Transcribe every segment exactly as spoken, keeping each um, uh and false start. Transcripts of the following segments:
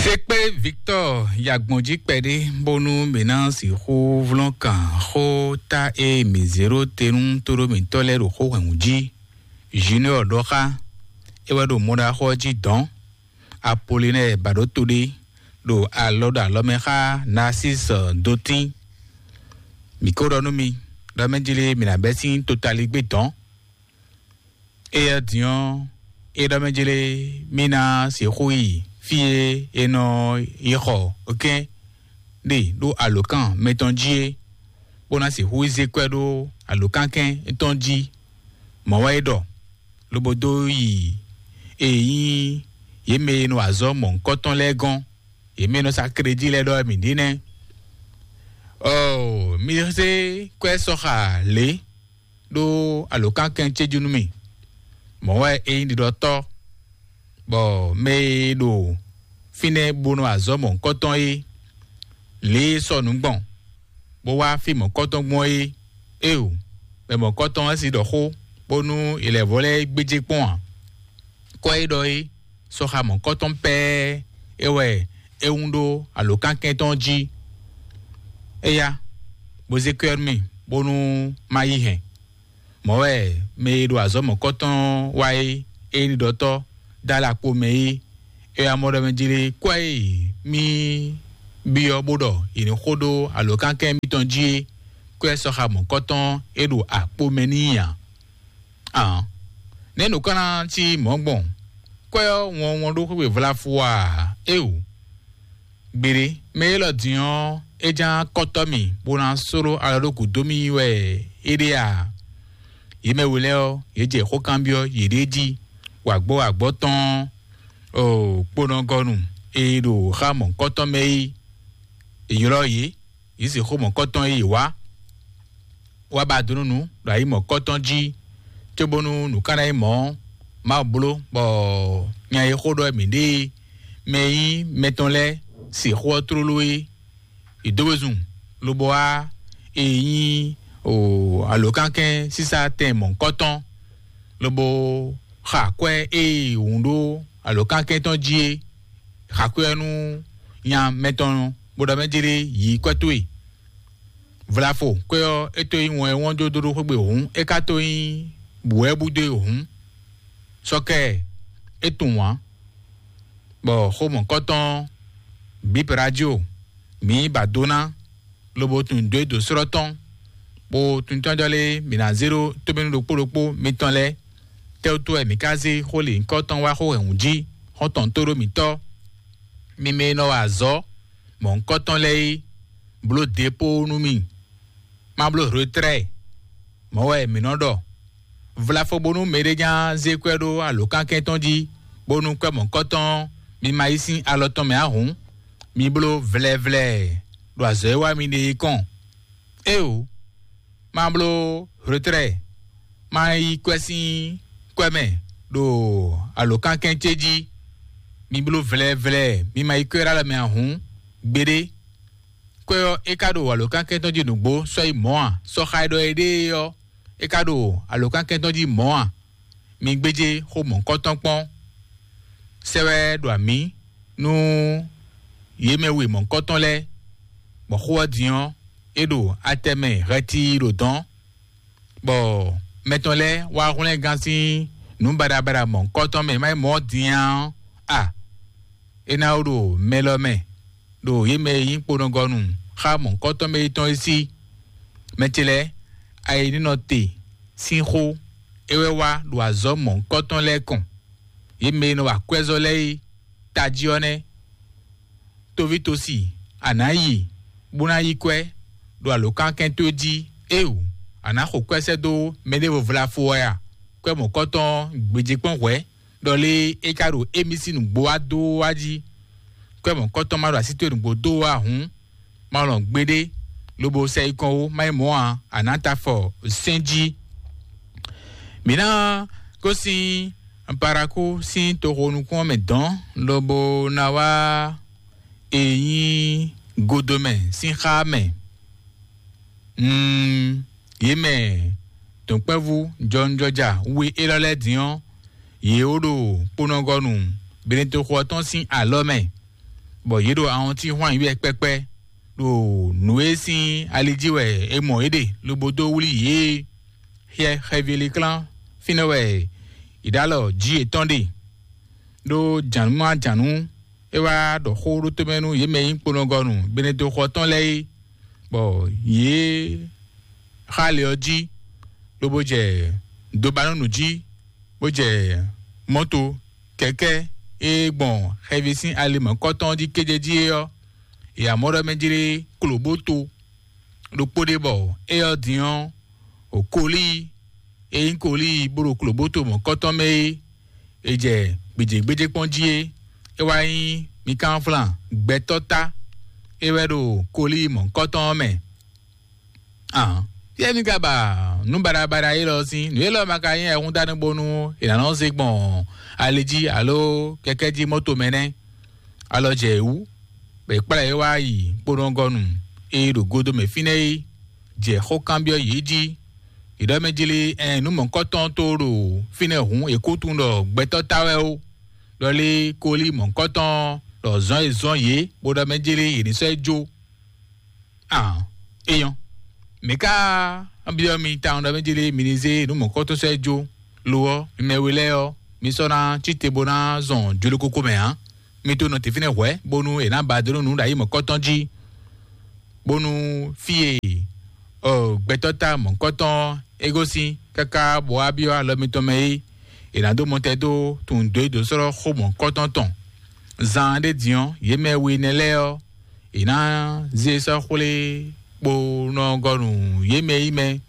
Tekpé Victor yagbɔn jí kpɛɖé bónú mǐ ná sixú vlɔ́n kan xó ta e mǐ zě ɖó te nú tóɖó mǐtɔn lɛ́ɛ ɖo xó hwɛ̌nwú jí. Junior ɖɔ xá é wɛ ɖo mɔɖaxó ɔ́ jí dɔ̌n. Apolinɛ ba ɖó to ɖé ɖo alɔ ɖo alɔ mɛ xá Narcisse Dotín. Mǐ ko ɖɔ nú mi ɖɔ mɛ jlé mǐ ná bɛ́ sín totaligbé dɔ̌n. Éyɛ́ din ɔ́, é ɖɔ mɛ jlé mì ná sixú yi fí e è nɔ yi xɔ kɛ́n ɖe ɖó alǒkan mɛtɔn jí é, bó ná sixú yi zé kwɛ́ ɖó alǒkankɛn tɔn jí. Mɔ̌ wɛ é ɖɔ, lobo dó yi e nyí yě mɛ e nɔ azɔ̌ mɔ̌hunkɔtɔn lɛ́ɛ gɔ́n, yě mɛ e nɔ sa krédí lɛ́ɛ ɖɔ wɛ mǐ ɖe nɛ́. Ɔɔ, mi zé kwɛ́ sɔxa lě ɖó alǒkankɛn ce jí nú mì. Mɔ̌ wɛ é nyí ɖiɖɔtɔ́, bɔ mɛ e ɖo fínɛ́ bó nɔ azɔ̌ mɔ̌hunkɔtɔn é, lě e sɔ nǔ gbɔn, bó wá fí mɔ̌hunkɔtɔn gbɔn é. Éeǒ, mɛ mɔ̌hunkɔtɔn ɔ́ si ɖɔ xó, bónú è lɛ̌ vɔ lɛ́ɛ gbéjé kpɔ́n ǎ. Kɔ e ɖɔ é, sɔxa mɔ̌hunkɔtɔn pɛ́ɛ é wɛ é wún ɖó alǒkankɛn tɔn jí. Éyá, bó zé kwɛ́ nú mì, bónú má yí hɛn. Mɔ̌ wɛ mɛ e ɖo azɔ̌ mɔ̌kɔtɔn wa é, é nyí ɖiɖɔtɔ́ dó alakpo mɛ é, é wá mɔ ɖɔ mɛ jlé kwɛ́ e mì byɔ́ bó ɖɔ è nǐ xo ɖó alǒkankɛn mitɔn jí é, kwɛ́ sɔxa mɔ̌kɔtɔn é ɖo akpo mɛ n'i ǎ. Ǎ, nɛ̌ nǔ ka ná cí mɔ̌ gbɔn? Kwɛ́ ɔ́ wɔn wɔn ɖó xwé vlafo a? Éeǒ. Gbeɖé, mɛ élɔ́ din ɔ́, é ján kɔ́tɔ́ mì bó ná sló alɔ ɖó gǔdo mì wɛ é ɖe a? Yě mɛ we lɛ́ɛ ɔ́, yě jɛ xó kanbyɔ́ yěɖée jí, wǎgbɔ́ wǎgbɔ́ tɔn ɔ́, kponɔgɔnu e ɖo xá mɔ̌hunkɔtɔn mɛ é, è ylɔ́ yě, yě sixú mɔ̌hunkɔtɔn e yě wá wá ba do nú nǔ ɖo ayi mɔ̌hunkɔtɔn jí, cóbónú nǔ ka ná nyí mɔ̌ Mawu bló, bɔ nya e xó ɖɔ mǐ ɖe mɛ e nyí mɛtɔn lɛ́ɛ sixú ɔ́ tlóló é. È dó we zun, lobo wá e nyí o alǒkankɛn sísá tɛn mɔ̌hunkɔtɔn, lobo xa kwɛ́ e wǔn ɖó alǒkankɛn tɔn jí é, xa kwɛ́ ɔ́ nú nya mɛtɔn, bó ɖɔ mɛ jlé yǐ kwɛ́ towe. Vlafo kwɛ́ ɔ́, é to nyí wɔn e wɔn jó dó ɖó xwé gbe hǔn, é ka to nyí bǔ wɛ bú dó e hǔn. Sɔkɛ é tunwun ǎ, bɔ xó mɔ̌kɔtɔn bǐ radio mǐ ba dó ná, lobo tunwun dó e dǒ slɔ́ tɔn, bó tunwun tɔn jɔ lé mǐ ná zé ɖó tómɛnu ɖokpó ɖokpó mitɔn lɛ́ɛ. Tɛ́wútu wɛ mǐ ka zé xó lǐnkɔ́ tɔn wá xó hɛ̌nnu jí, xɔ́ntɔn tó ɖó mǐtɔn? Mi mɛ e nɔ wa azɔ̌ mɔ̌hunkɔtɔn lɛ́ɛ é, bló dépó nú mì, má bló retrɛ́ɛ. Mɔ̌ wɛ mǐ nɔ ɖɔ: vlafo bónú mɛɖé nya zé kwɛ́ ɖó alǒkankɛn tɔn jí, bónú kwɛ́ mɔ̌hunkɔtɔn mi ma yí sín alɔ tɔn mɛ ǎ hǔn, mi bló vlɛvlɛ ɖo azɔ̌ e wá mi ɖe é kɔn. Éeǒ, má bló retrɛ́ɛ, má yí kwɛ́ sín kwɛ́ mɛ ɖo alǒkankɛn ce jí. Mi bló vlɛvlɛ, mi ma yí kwɛ́ ɖó alɔ mɛ ǎ hǔn, gbeɖé. Kwɛ́ ɔ́, é ka ɖo alǒkankɛn tɔn jí nǔgbó sɔ́ yi mɔ̌ a? Sɔxa e ɖɔ é ɖe é ɔ́, é ka ɖo alǒkankɛn tɔn jí mɔ̌ a? Mi gbéjé xó mɔ̌hunkɔtɔn kpɔ́n. Sɛ́ wɛ ɖo amǐ nú yě mɛ we mɔ̌hunkɔtɔn lɛ́ɛ, bɔ xó ɔ́ din ɔ́, é ɖo atɛ mɛ hɛti ɖo dɔ̌n, bɔ mɛtɔn lɛ́ɛ wá hwlɛ́ngán sín nǔ baɖabaɖa mɔ̌hunkɔtɔn mɛ, má nyí mɔ̌ din ǎ ɔ́, a é ná wú ɖo mɛ lɔ mɛ, ɖo yě mɛ e nyí kponɔgɔnu xá mɔ̌hunkɔtɔn mɛ yětɔn é sí. Mɛ ce lɛ́ɛ, ayi ní nɔ te sín xó é wɛ wá ɖo azɔ̌ mɔ̌hunkɔtɔn lɛ́ɛ kɔn. Yě mɛ e nɔ wa akwɛ́zɔ́ lɛ́ɛ é tají ɔ́ nɛ́. Toví tosi, a nǎ yi bó ná yí kwɛ́ ɖo alǒkankɛn towe jí. Éeǒ, a nǎ xo kwɛ́ sɛ́ dó mɛɖěvo vlafo wɛ a? Kwɛ́ mɔ̌kɔtɔn gbějé kpɔ́n hwɛ̌, ɖɔ lé é ka ɖo émí sín nǔgbó wá dó wá jí. Kwɛ́ mɔ̌kɔtɔn ma ɖo así towe nǔgbó dó wá hǔn, ma lɔn gbeɖé, lobo sɛ yi kɔn ó, má nyí mɔ̌ ǎ, a nǎ ta afɔ sɛ́n jí. Mǐ ná gosín Parakú sín toxo nukún ɔ́ mɛ dɔ̌n, lobo ná wá e nyí godomɛ sín xá mɛ. Mm, yě mɛ dɔ̌nkpɛ́vú jɔnjɔja we élɔ́ lɛ́ɛ din ɔ́, yě ó ɖo kponɔgɔnu Benetoxo ɔ́ tɔn sín alɔ mɛ. bɔ yě ɖo awɔntín hwan yí wɛ kpɛkpɛ, ɖo nǔ e sín ali jí wɛ è mɔ yě ɖe lobo dó wlí yě. Xyɛ xɛvíliklán fínɛ́ wɛ yě ɖo alɔ jí yětɔn ɖe, ɖó jǎnú má jǎnú é wá ɖɔ xó ɖó tomɛ nú yě mɛ e nyí kponɔgɔnu Benedexɔ tɔn lɛ́ɛ é, bɔ yě xá ali ɔ́ jí, lobo jɛ dobanɔnu jí, bó jɛ mɔ́to kɛkɛ́ e gbɔn xɛví sín ali mɔ̌kɔtɔn jí kéjé jí é ɔ́, yě amɔ́ ɖɔ mɛ jlé klobóto ɖokpó ɖé, bɔ éyɔ́ din ɔ́, o kolíi e nyí kolíi bó ɖo klobóto mɔ̌kɔtɔn mɛ é, è jɛ gbějégbéjé kpɔ́n jí é, é wá nyí Mikánflan gbɛtɔ́ tá, é wɛ ɖo kolíi mɔ̌kɔtɔn ɔ́ mɛ. Ahàn, fíɛ́ mi ka ba nǔ baɖabaɖa élɔ́ sín? Nǔ élɔ́ ma ka nyí ayihúndánú bónú è nǎ nɔ zé gbɔn ali jí alo kɛkɛ́ jí mɔ́to mɛ nɛ́? Alɔ jɛ yě wú, bɔ è kplá yě wá yi kponɔgɔnu e ɖo godo mɛ fínɛ́ é, jɛ xó kanbyɔ́ yě jí. Yě ɖɔ mɛ jlé ɛn nǔ mɔ̌kɔtɔn tó ɖo fínɛ́ hǔn è kó tunwun ɖɔ gbɛtɔ́ tá wɛ ó. Ɖɔ lé kólí mɔ̌kɔtɔn ɖɔ zɔn e zɔn yě bó ɖɔ mɛ jlé yě ní sɔ́ ɛ jó. Ah, eyɔn. Mǐ ka byɔ́ mi tawun ɖɔ mɛ jlé mi ní zé nǔ mɔ̌kɔtɔn sɔ́ ɛ jó. Lo ɔ́, mi mɛ we lɛ́ɛ ɔ́, mi sɔ́ ná cí te bó ná zɔn jolókókó mɛ ǎ. Mi to nɔ te fínɛ́ hwɛ̌ bónú è nǎ ba dó nú nǔ ɖo ayǐ mɔ̌kɔtɔn jí, bónú fí e ɔ gbɛtɔ́ ta mɔ̌kɔtɔn é gosín káká bɔ wá byɔ́ alɔ mitɔn mɛ é, è nǎ dó mɔtɛn dó tunwun dó e dǒ slɔ́ xó mɔ̌kɔtɔn tɔn. Zan ɖé din ɔ́, yě mɛ we nɛ́ lɛ́ɛ ɔ́, è nǎ zé sɔ́ xwlé kpo nɔ gɔnu yě mɛ yi mɛ,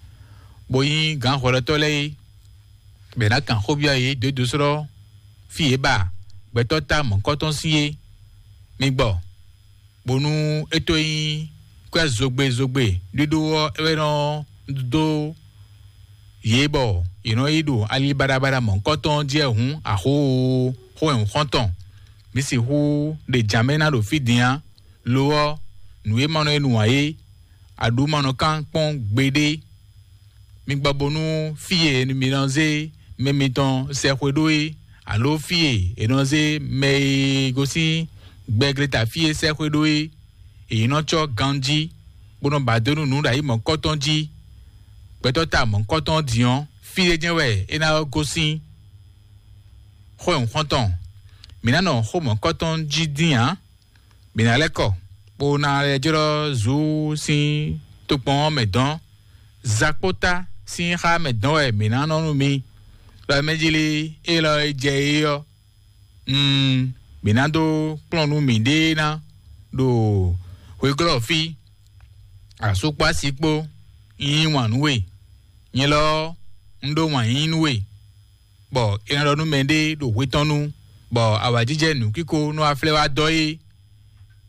bó nyí gǎnhwlɛ́tɔ́ lɛ́ɛ é, bɔ è nǎ kan xó byɔ́ yě dó e dǒ slɔ́ fí e ba gbɛtɔ́ ta mɔ̌kɔtɔn sín é. Mi gbɔ, bónú é tó nyí kwɛ́ zogbe zogbe ɖíɖó ɔ́ é wɛ nɔ dó yě bɔ yě nɔ yi ɖo ali baɖabaɖa mɔ̌kɔtɔn jí wɛ hǔn, axó xó wɛ hǔn xɔ́ntɔn. Mǐ sixú ɖe jǎmɛ ná ɖo fí din ǎ. Lo ɔ́, nǔ e ma nɔ e nǔ ǎ é, aɖǔ ma nɔ kán kpɔ́n gbeɖé. Mi gbɔ bónú fí e mi nɔ zé mɛ mitɔn sɛxwe ɖó é, alo fí e è nɔ zé mɛ e gosín gbɛgleta fí e sɛxwe ɖó é, è nɔ cɔ́ ganjí, bó nɔ ba dó nú nǔ ɖo ayǐ mɔ̌kɔtɔn jí. Gbɛtɔ́ ta mɔ̌kɔtɔn din ɔ́, fí e jɛ́n wɛ é ná gosín. Xó e un xɔ́n tɔn, mǐ ná nɔ xó mɔ̌kɔtɔn jí dín ǎ. Mǐ ná lɛ́ kɔ, bó ná lɛ́ jlɔ́ zǔ sín tokpɔn ɔ́ mɛ dɔn. Zakpóta sín xá mɛ dɔn wɛ mǐ ná nɔ nú mi. Ɖɔ mɛ jí lí élɔ́ e jɛ é ɔ́, mm, mǐ ná dó kplɔ́n nú miɖée ná ɖo hweglɔ́ fí. Asú kpó asi kpó, un yí wǎn nú we. Nyɛ lɔ ɔ́, un ɖó wǎn yíyí nú we, bɔ è nɔ ɖɔ nú mɛɖé ɖo hwe tɔn nu, bɔ awǎjijɛ nǔkíko nú aflɛ́ wá dɔ é.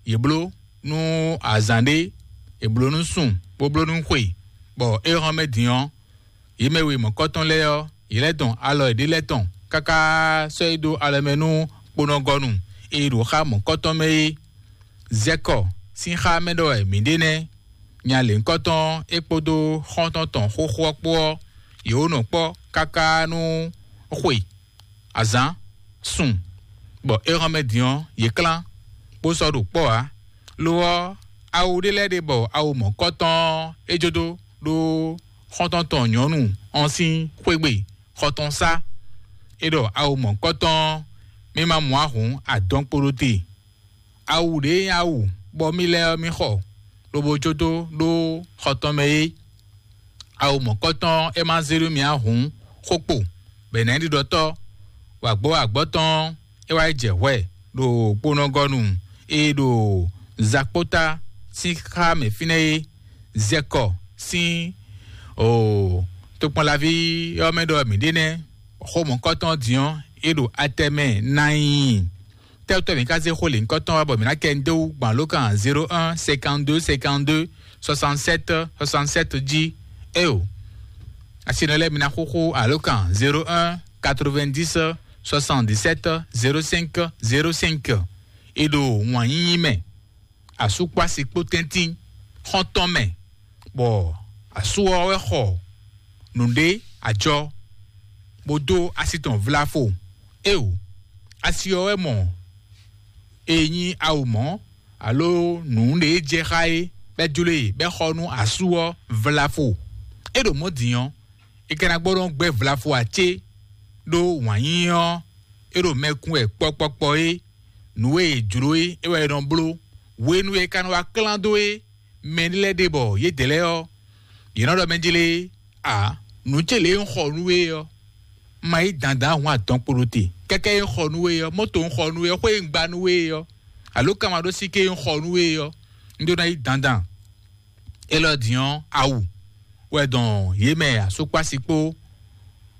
Yě bló nú azǎn ɖé, yě bló nú sùn, bó bló nú xwe, bɔ é hɔn mɛ din ɔ́, yě mɛ we mɔ̌kɔtɔn lɛ́ɛ ɔ́, yě lɛ́ dɔn alɔ yěɖée lɛ́ɛ tɔn káká sɔ́ yí dó alɔ mɛ nú kponɔgɔnu e ɖo xá mɔ̌kɔtɔn mɛ é. Zɛkɔ sín xá mɛ ɖɔ wɛ mǐ ɖe nɛ́. Nya lěhunkɔtɔn é kpódó xɔ́ntɔn tɔn xóxó ɔ́ kpó ɔ́, yě wó nɔ kpɔ́ káká nú xwe, azǎn, sun, bɔ é hɔn mɛ din ɔ́, yě klán, bó sɔ́ ɖo kpɔ́ ǎ. Lo ɔ́, awu ɖé lɛ́ɛ ɖe bɔ awu mɔ̌kɔtɔn ɔ́, é jó dó ɖó xɔ́ntɔn tɔn nyɔ̌nu ɔ́ sín xwé gbe xɔ tɔn sá. É ɖɔ awu mɔ̌kɔtɔn ɔ́, mì ma mɔ ahǔn adɔn kpo ɖó te. Awu ɖě nyí awu bɔ mì lɛ́ ɔ́ mì xɔ, lobo jó dó ɖó xɔ tɔn mɛ é. Awu mɔ̌kɔtɔn ɔ́, é ma zé nú mì ǎ hǔn, xó kpo, bɔ è nǎ nyí ɖiɖɔtɔ́. Wǎgbɔ́ wǎgbɔ́ tɔn ɔ́, é wá yi jɛ hwɛ ɖo kponɔgɔnu e ɖo Zakpóta sín xá mɛ fínɛ́ é, Zɛkɔ sín o tokpɔnlaví ɔ́ mɛ ɖɔ mǐ ɖe nɛ́. Xó mɔ̌kɔtɔn din ɔ́, é ɖo atɛ mɛ ná nyi. Tɛ́wútɔ́ mǐ ka zé xó lěhunkɔtɔn wá bɔ mǐ ná kɛ dó wú gbɔn alǒkan zéro un cinquante-deux cinquante-deux soixante-sept soixante-sept jí? Éyo, asinɔ lɛ́ɛ mi ná xúxú alǒkan zéro un quatre-vingt-dix soixante-dix-sept zéro cinq zéro cinq. É ɖo wǎn yíyí mɛ, asú kpó asi kpó tɛ́ntin xɔ́ntɔn mɛ, bɔ asú ɔ́ wɛ xɔ nǔɖé ajɔ, bó dó asi tɔn vlafo. Éyo, asi ɔ́ wɛ mɔ e nyí awu mɔ̌, Alo nǔ ɖě jɛ xá é, bɛ́ jló e bɛ́ xɔ nú asú ɔ́ vlafo. É ɖo mɔ̌ din ɔ́, é ka ná gbɔ nɔ gbɛ́ vlafo ǎ cé? Ɖó wǎn yíyí ɔ́, é ɖo mɛ kún wɛ kpɔkpɔkpɔ é. Nǔ e è jló é, é wɛ è nɔ bló. Hwenu e è ka nɔ wá klán dó é, mɛ lɛ́ɛ ɖe bɔ yědɛɛ lɛ́ɛ ɔ́, yě nɔ ɖɔ mɛ jlé. A nǔ ce lě e un xɔ nú we ɔ́, ma yí dandan ahwan atɔn kpo ɖo te. Kɛkɛ e un xɔ nú we ɔ́, mɔto un xɔ nú we ɔ́, xwé e un gba nú we ɔ́, alo kamaɖósíké e un xɔ nú we ɔ́, un ɖó ná yí dandan. Élɔ́ din ɔ́, awu wɛ dɔn yě mɛ asúkpási kpó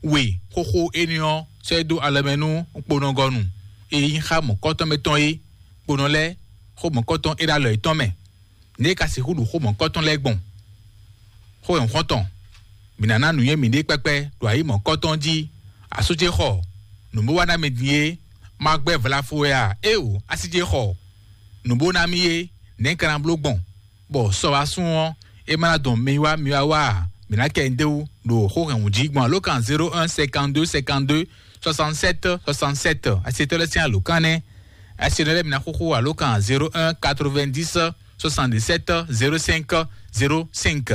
we xóxó éní ɔ́ sɔ́ é dó alɔ mɛ nú kponɔgɔnu e nyí xá mɔ̌kɔ́tɔn mɛ tɔn é. Kponɔ lɛ́ɛ xó mɔ̌kɔ́tɔn é ɖo alɔ yětɔn mɛ. Nɛ̌ ka sixú ɖu xó mɔ̌kɔ́tɔn lɛ́ɛ gbɔn? Xó nyɔ̌xɔ́ntɔn, mǐ ná ná nǔnywɛ́ mǐɖée kpɛ́kpɛ́ ɖo ayǐ mɔ̌kɔ́tɔn jí. Asú ce xɔ nǔ bó wá ná mi din é, ma gbɛ́ vlafo wɛ a? Éeǒ, así ce xɔ nǔ bó ná mì é, nɛ̌ ka ná bló gbɔn? Bɔ sɔ wá sún ɔ́, é má ná dɔn mi wá mi wá wá a? Mǐ ná kɛ nyi d'é wú ɖo xó hɛn wǔ jí gbɔn alǒkan zéro un cinquante-deux cinquante-deux soixante-sept soixante-sept. Asetɔ́ lɛ́ɛ sín alǒkan nɛ́. Asetɔ́ lɛ́ɛ mi ná xóxó alǒkan zéro un quatre-vingt-dix soixante-dix-sept zéro cinq zéro cinq.